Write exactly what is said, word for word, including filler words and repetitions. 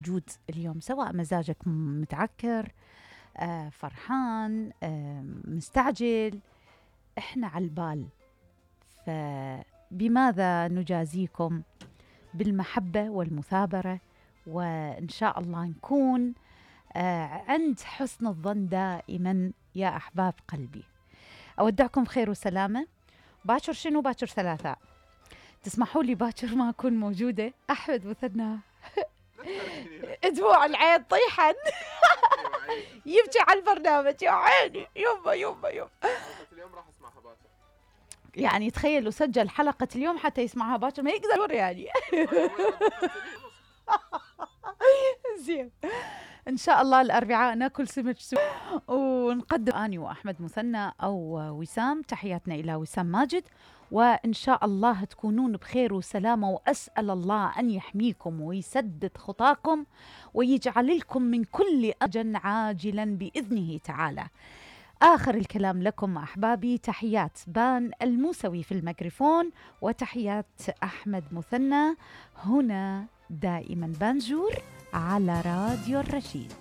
موجود اليوم، سواء مزاجك متعكر، آه، فرحان، آه، مستعجل، احنا على البال. فبماذا نجازيكم؟ بالمحبة والمثابرة، وإن شاء الله نكون آه، عند حسن الظن دائما يا أحباب قلبي. أودعكم خير وسلامة. باكر شنو؟ باكر ثلاثاء. تسمحوا لي باكر ما أكون موجودة. أحمد مثنى دموع العين طيحا يبكي على البرنامج يا عيني. يومه يومه يوم اليوم راح اسمعها باكر، يعني تخيلوا سجل حلقة اليوم حتى يسمعها باكر، ما يقدر يعني. زين، إن شاء الله الأربعاء ناكل سمك سوي ونقدم أني وأحمد مثنى أو وسام. تحياتنا إلى وسام ماجد، وإن شاء الله تكونون بخير وسلامة، وأسأل الله أن يحميكم ويسدد خطاكم ويجعل لكم من كل أجل عاجلا بإذنه تعالى. آخر الكلام لكم أحبابي، تحيات بان الموسوي في الميكروفون، وتحيات أحمد مثنى هنا دائما بانجور على راديو الرشيد.